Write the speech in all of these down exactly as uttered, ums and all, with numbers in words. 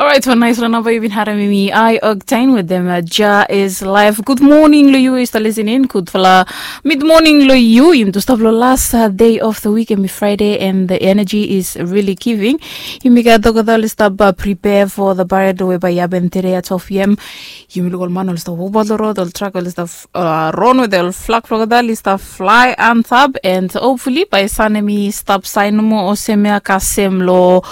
Orait, wan naisfala namba yu bin harem mi, Ai Octane wetem Jah Is Life. Gud moning long yu we yu stap lisening. Gudfala mid moning long yu. Yumi tu stap long las dei of the week, hemi Friday, and the energy is really giving. Yumi gat olgeta oli stap prepare for the parade we bae i hapen tede at twelve p m. Yumi luk ol man oli stap wokbaot long rod, ol trak oli stap ron wetem ol flag blong olgeta oli stap flae antap, and hopefully bae san hemi stap saen nomo olsem ya kasem long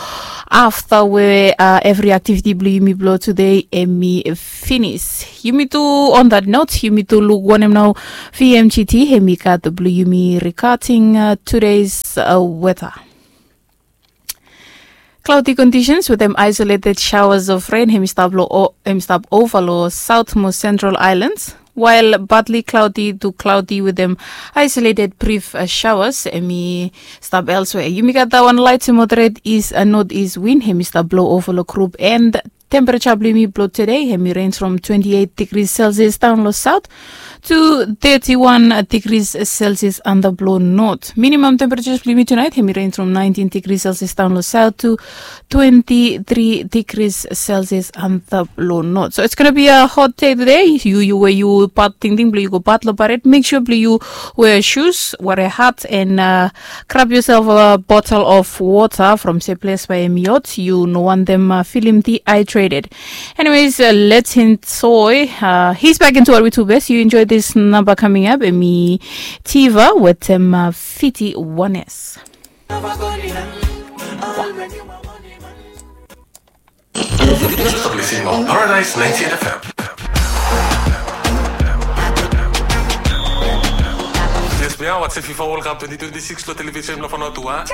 afta we evri aktiviti blong yumi blong tude hemi finis. Yumi tu, on that note, yumi tu luk wanem nao V M G T hemi gat blong yumi regarding tude's weta. Cloudy conditions wetem isolated showers of rain hemi stap ova long south mo central islands, while partly cloudy to cloudy wetem isolated brief showers hemi stap elsewhere. Yumi gat that one, light to moderate east and northeast wind hemi stap blow over long group, and temperature blong yumi blong today hemi range from twenty-eight degrees Celsius down long south to thirty-one degrees Celsius antap long north. Minimum temperatures blong yumi tonight hemi range from nineteen degrees Celsius down long south to twenty-three degrees Celsius antap long north. So it's gonna be a hot day today. Yu, yu we yu bat tingting blong yu go bat long parade, make sure blong yu wear shoes, wear a hat, and uh, grab yourself a bottle of water from se ples bae hemi hot. Yu no wantem uh, feeling dehydrated. Anyways, uh, let's enjoy. Uh, he's back into our two best. You enjoy this number coming up. Hemi Tiva wetem uh, Fiti Oneness. Paradise ninety-eight F M. Yes, we are watching FIFA World Cup twenty twenty-six lo television lo Fanotua.